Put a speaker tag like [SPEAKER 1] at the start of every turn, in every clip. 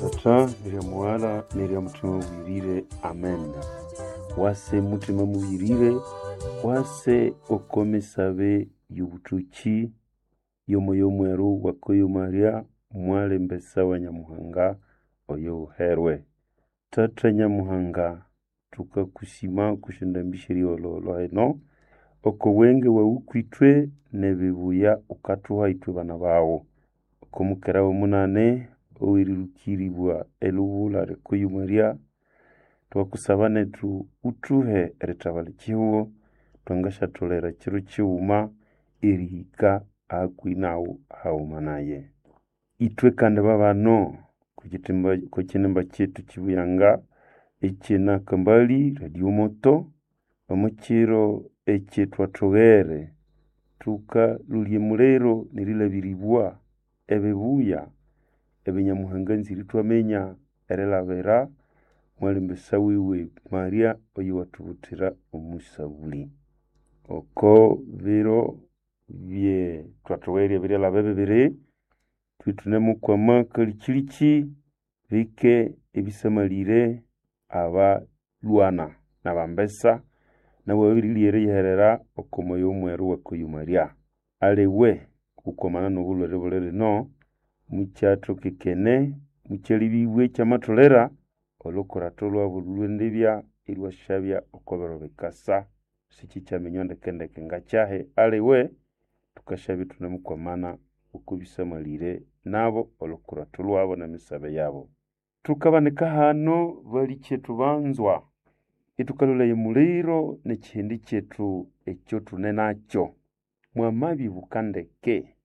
[SPEAKER 1] Tata nerya Mughala nerya Mutima Mubwirire. Amen. Wase Mutima Mubwirire, wase okomesabe y'obutoki y'omoyo mweru wakoyo Maria mwalembesa wa Nyamuhanga oyo uherwe. Tata Nyamuhanga, tukakusima kusyondambisya erihololo eno oko bwenge bwawu kwithwe n'ebibuya ukathuha ithwe bana bawu. Oko mukera w'omunane owerirukiribwa elubula lyakoyo Maria, twakusaba nethu uthuhe erithabalha ekihugho twangasyatholera kiro kighuma erihika hakuhi nawu haghuma naye. Ithwe kandi babano okwikitimba okwakinimba kyethu kibuyanga ekyenakambali Radio Moto omukiro ekyithwathoghere thukalolya emuliro nerilabiribwa ebibuya ebinyamuhanga anzire ithwaminya erilabira mwalimbesa wiwe Maria oyuwathubuthira omusabuli. Oko biro bye thwathowerye ebiryalhaba bibiri thwithunemukwama kalikyilikyi bike ebisamalire abalhwana nabambesa nabo babirilya eriyiherera oko moyo mweru wakoyo Maria. Aliwe okukwamana n'obulhwere buli lino mukyathokekene mukyalibibwa ekyamatholera olhukuratho lwabu lhwendibya ilhwasyabya oko biro bikasa sikikyaminywa ndekendeke ngakyahi aliwe thukasyabya ithunemukwamana oko bisamalire nabo olhukuratho lwabo n'emisabe yabo. Thukabanika hano balikyethu banzwa ithukalolaya omuliro n'ekihindi kyethu ekyothune nakyo. Mwamabibuka ndeke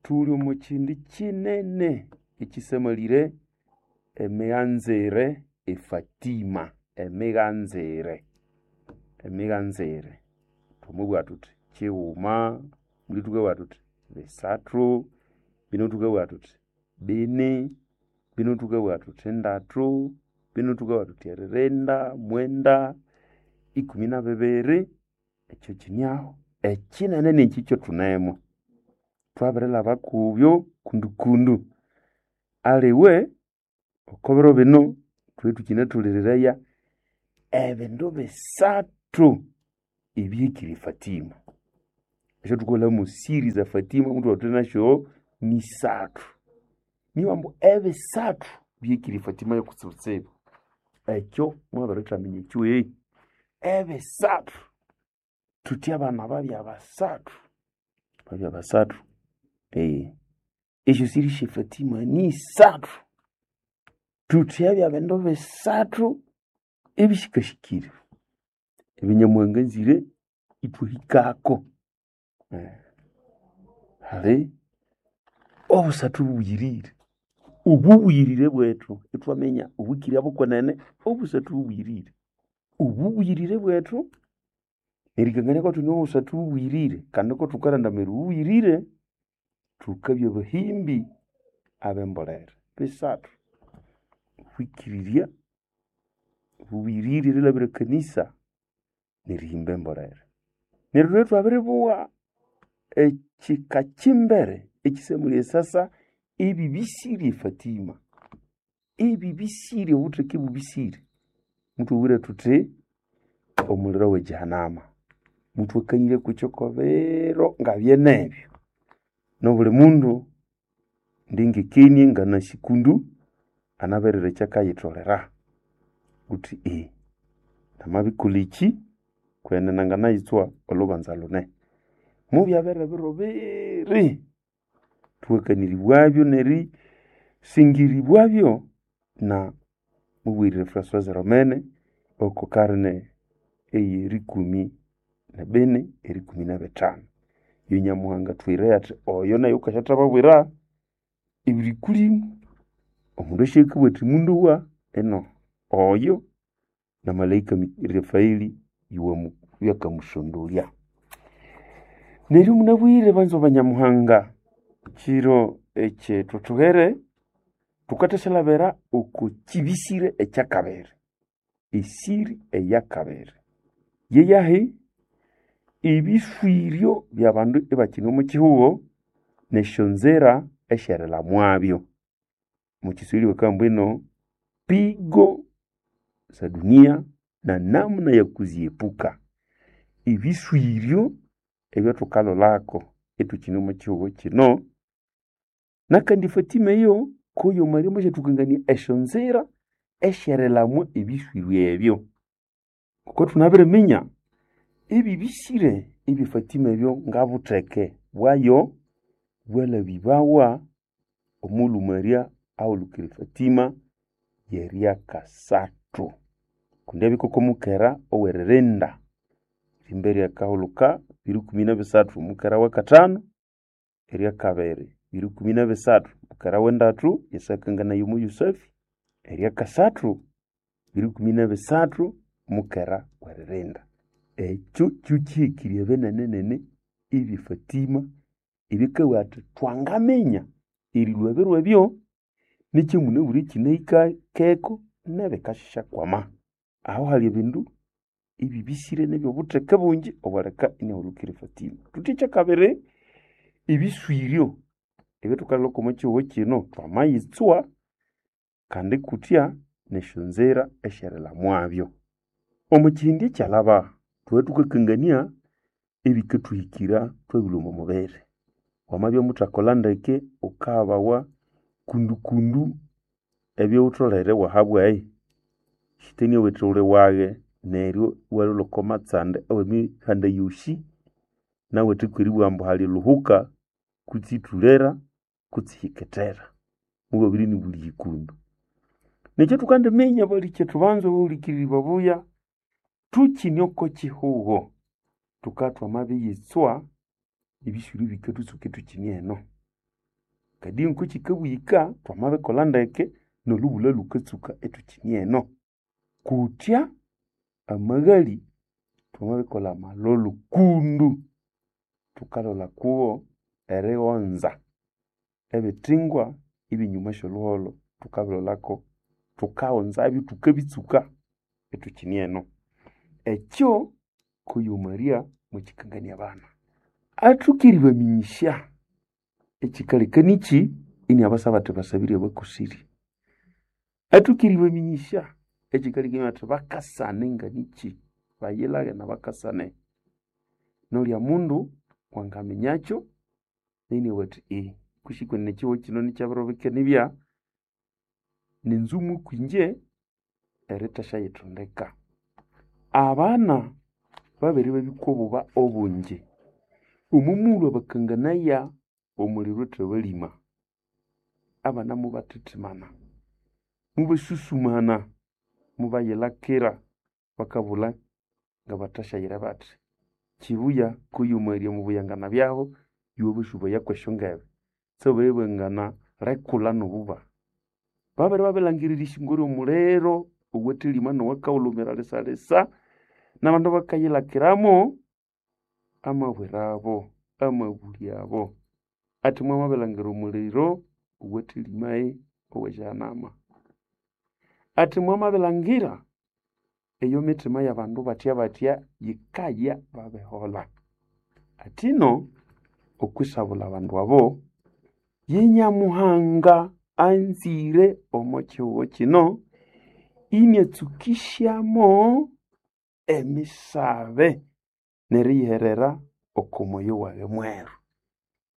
[SPEAKER 1] thuli omo kihindi kinene ekisamalire emighanzire e Fatima, emighanzire, emighanzire. Thwamabugha thuthi kighuma, muli thukabugha thuthi bisathu, bino thukabugha thuthi bini, bino thukabugha thuthi ndatu, bino thukabugha thuthi eririnda, mwenda, ikumi na bibiri, ekyo kiniaho. Ekinene nekyi ekyathunemu. Thwabirilhaba kubyo kundukundu. Aliwe oko biro bino thwe thukinathuliriraya ebindu bisathu ebihikire e Fatima. Esyathukaghulhamu siri za Fatima muthwabugha thuthi nasyo nisathu. Nibo ambu ebisathu bihikire e Fatima yokutsibutsibu. Ekyo mwabirithamenya ekyo ebisathu thuthi abana babya basathu, babya basathu esyo siri sye Fatima nisathu. Thuthi byabya bindu bisathu ebihikahikire ebinyamuhanga anzire ithwahikako. Hali obusathu bubuyirire, obubuyirire bwethu ithwaminya obwikirya bukwenene obusathu bubuyirire. Obubuyirire bwethu nerikangania kwathu obusathu bubuyirire kandi kothukarandamira obubuyirire thukabya bahimbi abembolere. Bisathu, obwikirirya, obubuyirire erilhabira ekanisa nerihimba embolere. Neryo thulwe thwabiribugha ekika kyimbere ekisamulye esasa ebibisirye e Fatima. Ebibisirye obutheke bubisire. Muthwabwire thuthi omuliro we Jehanama. Muthwakanyire kwikyo kwabiro ngabyenebyo. Nobuli mundu ndingekenie nganasi kundu anaberire ekyakayitholera. Ghuthi namabikolha ekyi kwenene nanganayitswa olhubanza lune. Mubyabere ebiro biri thuhakaniribwabyo nerisingiriribwabyo na mubwirire François Romene oko karne eyerikumi nebini erikumi nebithanu. Yo Nyamuhanga athwire athi oyo nayo wukasyathababwira ebirikulimu omundu asyakabugha athi mundowa ino oyo na malaika Rafaeli yakamusondolya. Neryo munabwire banzwa ba Nyamuhanga kiro ekyithwathoghere thukathasyalyabira oko kibisire ekyakabiri, esiri eyakabiri. Yeyahi ebiswiryo byabandu ibakyine omo kihugho nesyonzira esyerilhamwabyo. Mukiswahili bakamba ino pigo za dunia na namna ya kuziepuka. Ebiswiryo ebyathukalolako ithukine omo kihugho kino nakandi Fatima eyo kuyo Maria mwasyathukangania esyonzira esyerilhamwa ebiswiryo ebyo. Ngoko thunabiriminya ebibisire ebye Fatima ebyo ngabutheke bwayo bwalhabibawa omughulhu Maria ahulukire Fatima yeryakasathu. Kundi abya koko mukera oweririnda erimba eryakahulhuka 2013 mukera wakathanu, eryakabiri 2013 mukera wendathu Yesu akanganaya omo Yusefu, eryakasathu 2013 mukera weririnda. Ekyo kyo kihikirye binene-nene ebye Fatima ebikabugha athi thwangaminya erilhwa ebiro ebyo nekyamunabwire kinahikakeko nebikasyakwama. Aho hali ebindu ebibisire nebyobutheke bungi obwaleka inahulukira Fatima. Thuthi ekyakabiri, ebiswiryo ebyathukalholako omo kihugho kino thwamayitswa kandi kutya nesyonzira esyerilhamwabyo. Omo kihindi ekyalhaba thwabya thukakangania ebikathuhikira thwabilhwa omo mubiri. Wamabya muthakolha ndeke wukahabawa kundukundu ebyaghutholere iwahabwayi. Sitani awithe wuli waghe neryo iwalholha oko matsanda awemihanda yosi nawithe kweribugha ambu hali lhuhuka kutse ithulera kutse ihikithera. Mubabiri nibuli ikundu. Nekyo thukandiminya balikyetu banza abahulikiriri babuya thukine oko kihugho thukabya thwamabiyitswa ebiswiro bikathutsuka ithukine eno. Kadi ngokukikabuyika thwamabikolha ndeke nolhubulha lhukatsuka ithukine eno. Kutya amaghali thwamabikolha amalholo kundu thukalholha kugho erighonza ebithingwa ebyenyuma syolhuholho thukabilholhako thukaghonzabyo thukabitsuka ithukine eno. Ekyo kuyo Maria mwakikangania abana. Athuka eribaminyisya ekikaleka niki iniabasaba athi basabire abakosire. Athuka eribaminyisya ekikaleka athi bakasane nganiki bayilaghe nabakasane. Nolya mundu wangaminyakyo niniabugha athi kusi kwenene ekihugho kino nikyabirobeka nibya ninzumu kwinje erithasyaghithondeka. Abana babere babikwa obuba obungi. Omo mughulhu abakanganaya omuliro thabalima, abana mubathithimana, mubasusumana, mubayilhakira bakabulha ngabathasyayira bathi. Kibuya kuyo Maria mubuyangana byabo iwabasubaya kwesyongebe syababya lekula nobuba. Babere babilangirira isingo ryomuliro owathelima nowakahulhumira lisa-lisa nabandu bakayilhakiramo amabwirabo, amabulya abo. Athi mwamabilhangira omuliro owathelimayi owesyanama. Athi mwamabilhangira eyo mithima yabandu batya-batya yikaya babiholha. Athino okwisabulha abandu abo ye Nyamuhanga anzire omo kihugho kino iniatsukisyamo emisabe neriyiherera oko moyo waghe mweru.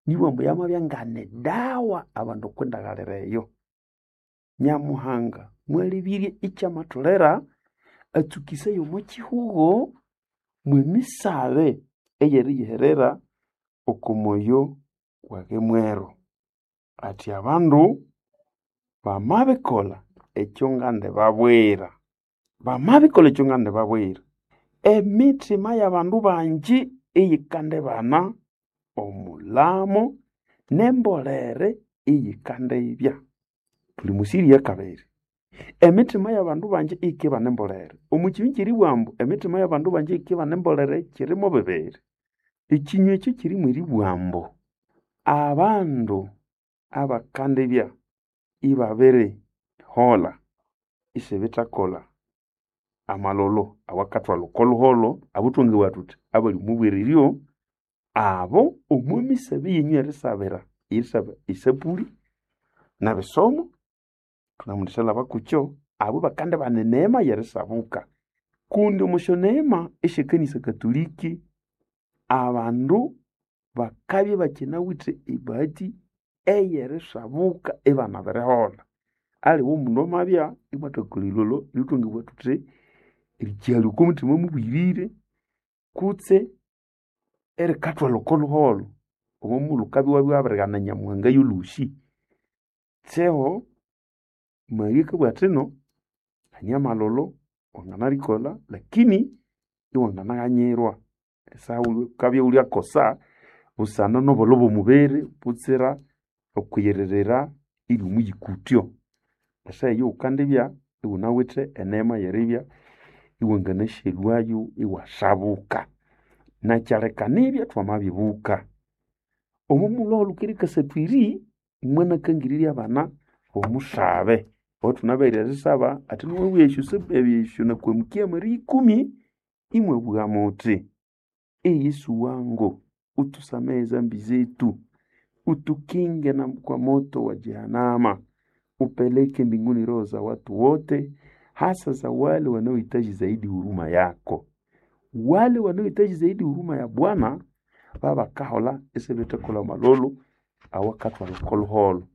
[SPEAKER 1] Nibughambu ambu yamabya ngane dawa abandu okwindaghalira eyo. Nyamuhanga mwalebirye ikyamatholera atsukisaya omo kihugho mwemisabe eyeriyiherera oko moyo waghe mweru. Athi abandu bamabikolha ekyo ngandibabwira, bamabikolha ekyo ngandibabwira, emithima yabandu bangi iyikandibana omulamo nembolere iyikandibya. Thuli musiri yakabiri. Emitima yabandu bangi iyikibana embolere. Omo kinywa kyeribugha ambu emitima yabandu bangi iyikibana embolere kirimo bibiri. Ekinywa ekyo kirimu eribugha ambu abandu abakandibya ibabiriholha isibithakolha amalholo awakathwalha oko lhuholho abo thwangabugha thuthi abali omubwereryo abo omo misabe yenyu erisabira erisaba esapuli nebisomo. Thunamundishalaba kukyo abo bakande bana eneema yerisabuka. Kundi omo syoneema esyekanisa katoliki abandu bakabya ibakinawithe ebahati eyerisabuka ibanabiriholha. Aliwe omundu amabya imwathakolha erilholho erithwangabugha thuthi erikihalya okwa muthima mubwirire kutse erikathwalha oko luholho omo mughulhu wukabya iwabya wabirighana Nyamuhanga yolhosi. Kyeho Maria akabugha athino hane amalholo wanganarikolha lakini iwanganaghanyirwa esaha wukabya iwulyakosa busana nobolho bw'omubiri butsira okwiyirira iri omuyikutyo. Esaha eyo wukandibya iwunawithe eneema y'eribya iwanganasyalhwayo iwasabuka. Nakyaleka nibya thwamabibuka omo mughulhu ahulukere kasathu eri mwanakangirirya abana omusabe owathunabere erisaba athi niwabugha esyo nakwamukya Maria ikumi imwabugha muthi ee Yesu wangu utusamehe zambi zetu utukinge na kwa moto wa Jehanama upeleke mbinguni roho za watu wote hasa za wale wanaohitaji zaidi huruma yako. Wale wanaohitaji zaidi huruma ya Bwana babakahola isibithakolha amalholo awakathwalha oko luholho.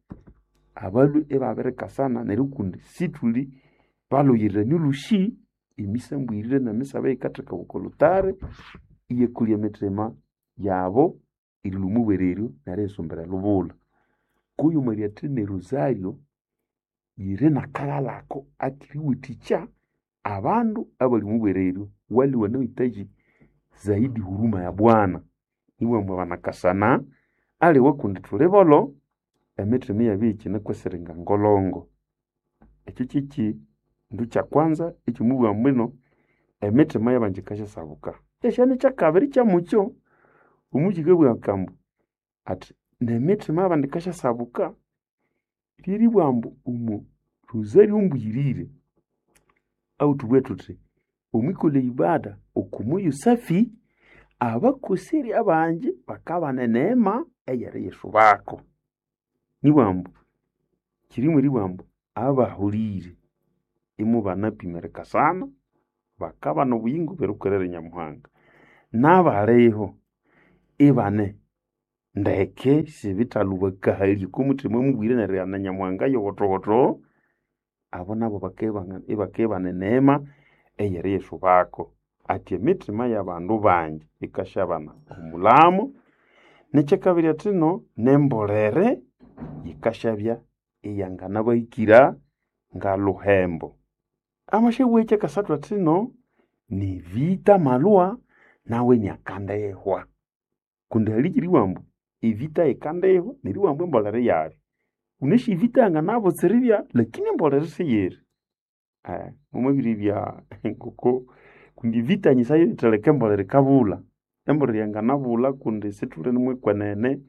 [SPEAKER 1] Abalhwe ibabirikasana neryo kundi sithuli balhuyirira olhusi emisambwirire n'emisabe eyikathekawa oko lutari iyakolya emithima yabo erilhwa omubwereryo neriyisumbira elubulha. Kuyu Maria athina erosario yiri n'akaghalako akeriwathikya abandu abali omubwereryo wale wanaohitaji zaidi huruma ya Bwana. Ibambu banakasana aliwe kundi thuli bolho emitima iyabya iyikinekweserenga ngolongo. Ekyo kyekindu kyakwanza ekyomubugha mbwino emitima y'abandu yikasyasabuka. Ekyashana ekyakabiri kyamukyo omukikabugha akambu athi n'emitima y'abandu yikasyasabuka lyeribugha ambu omo rosario mbuyirire ahuthubughe thuthi omwikolha eibada oko moyo safi abakoseri abangi bakabana eneema eyeriyisubako. Nibugha ambu kirimu eribugha ambu abahulire imubanapima erikasana bakabana obuyingo bw'erikorera Nyamuhanga. N'abaliho ibane ndeke sibithalhubakahalya oko muthima mubwire nerighana Nyamuhanga yowothowotho abo nabo ibakibana eneema eyeriyisubako. Athi emitima y'abandu bangi yikasyabana omulhamo n'ekyakabiri athino n'embolere yikasyabya iyanganabahikira ngalhuhembo. Amasyabugha ekyakasathu athino nivita amalhwa nawe inakandihwa kundi halikiribugha ambu evita yikandihwa neribugha ambu embolere iyabya. Wunasi evita yanganabutsira ibya lakini embolere siyiri. Mwamabiribya ngoko kundi evita nyisayo yithaleka embolere yikabulha. Embolere yanganabulha kundi sithuli nimwekwenene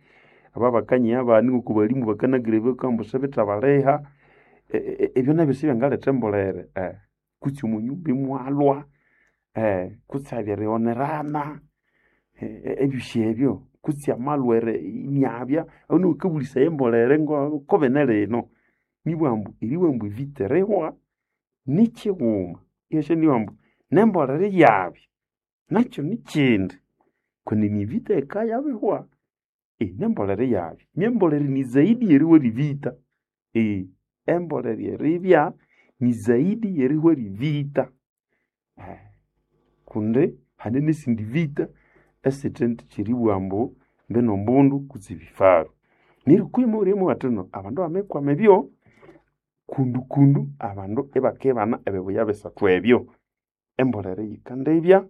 [SPEAKER 1] aba bakanyiha abana ngoko balimu bakanagiraya ambu sibithabaliha ebyo nabyo sibyangaletha embolere kutse omo nyumba imwalhwa kutse eriryonerana ebyosi ebyo kutse amalhwere iniabya ahu niho wukabulisaya embolere kobene lino. Nibugha ambu eribugha ambu evita erihwa nikyighuma ihyasyanibugha ambu n'embolere iyabya nakyo nikyindi kundi nivita yikayabihwa n'embolere iyabya. N'embolere ni zaidi y'erihwa erivita embolere eribya ni zaidi y'erihwa erivita kundi hane n'esindi vita esithe kyeribugha ambu mbino mbundu kutse ebifaru. Neryo kwihi mwabiribugha athino abandu bamabikwama ebyo kundukundu abandu ibakibana ebibuya bisathu ebyo. Embolere yikandibya,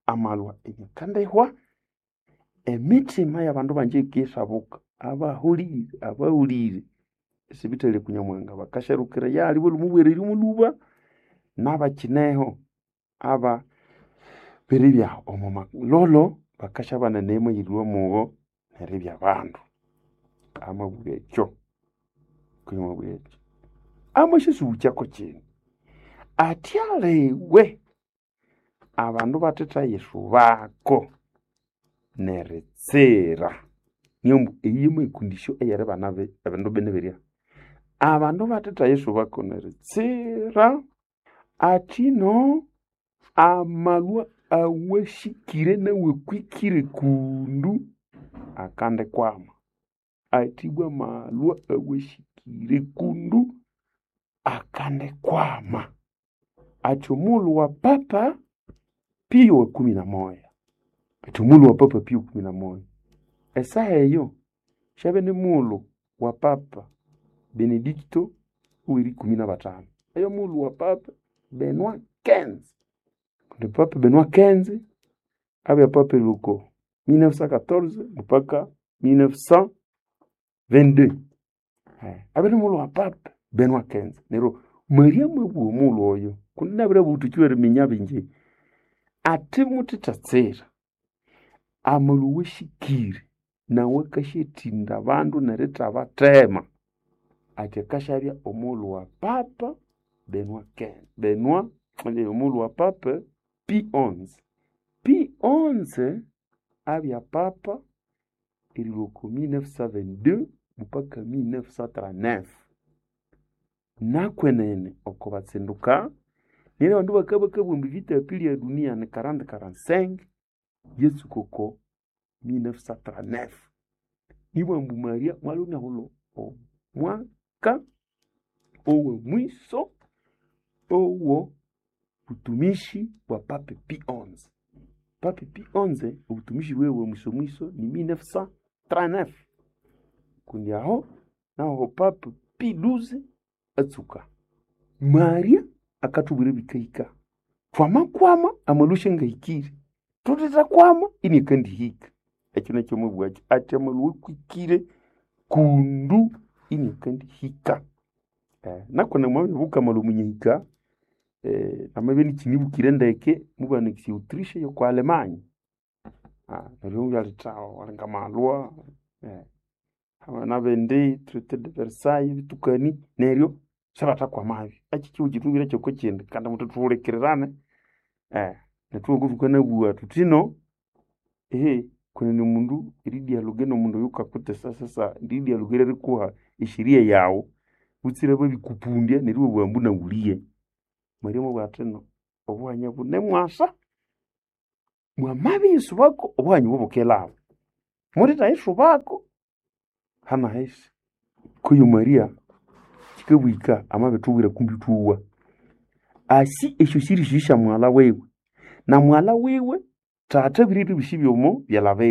[SPEAKER 1] amalhwa inakandihwa, emitima y'abandu bangi yikisabuka abahulire abahulire isibithalya ku Nyamuhanga bakasyarukira eyali balhwa omubwereryo mulhuba n'abakineho aba biribya omo malholo bakasyabana eneema ey'erilhwa mugho neribya bandu. Amabugha ekyo kwihi amabugha ekyo. Amasyasubukyako kino athi aliwe abandu bathithayisubako neritsira. Niyo ambu eyi yamwekundisyo eyeribana ebindu bine birya. Abandu bathetha Yesu bakoneritsira atino amalwa awashikire nawakwikire kundu akandikwama. Athi ibwa amalwa awashikire kundu akandikwama. Athi omulhu wa Papa Pio wa 11. Athi omulhu wa Papa Pio 11. Esaha eyo syabya ni mulhu wa Papa Benedicto ow'erikumi na batanu. Eyo mulhu wa Papa Benoit XV. Kundi Papa Benoit XV abya papa erilwa 1914 mpaka 1922. Abya ni mulhu wa Papa Benoit XV. Neryo Maria mwabugha omulhu oyo kundi nabiribugha thukiwa eriminya bingi athi muthithatsira amalwa awashikire nawe akasyatinda abandu nerithabathema. Athi akasyabya omulhu wa Papa Benoit XV Benoit omulhu wa Papa Pio XI. Pio XI abya papa erilwa oko 1922 mpaka 1939. Nakwenene oko batsinduka neryo abandu bakabya bakabugha ambu vita ya pili ya dunia ni 40-45 yatsuka oko 1939. Nibwa ambu Maria mwalwe inahulha omwaka owa mwiso owo butumishi bwa Papa Pio XI. Papa Pio XI obutumishi bwiwe bwa mwiso mwiso ni 1939. Kundi aho naho Papa Pio XII atsuka. Maria akathubwira ebikahika. Thwamakwama amalwa syangahikire. Thuthethakwama iniakandihika. Ekyo nakyo mwabugha athi amalwa akwikire kundu iniakandihika. Nakwenene mwabiribuka amalwa munyahika namabya inikyinibukire ndeke mubanakisya Autriche yoko Alemanya. Neryo ibyalhetha walinga amalwa nabindi Traité de Versailles bitukani neryo sibathakwamabyo. Ekyi kihugho kyithubwire kyokukyindi kandi muthithuhulikirirane nethu ngokuthukanabugha thuthino kwenene omundu eridialogue nomundu oyukakutesa sasa eridialogue ryerikuha esheria yaghu butsire babikupundya neryo iwabugha ambu nawuliye. Maria mwabugha athino obuhanya bunemwasa mwamabiyisubako obuhanya obo bukelhaba. Muthithayisubako hanahisi. Kuyu Maria kyikabugha amabithubwira kumbi ithwowa. Asi esyo siri syo syamughalha wiwe na mughalha wiwe thatha abirire ebisi byomo byalha biwe.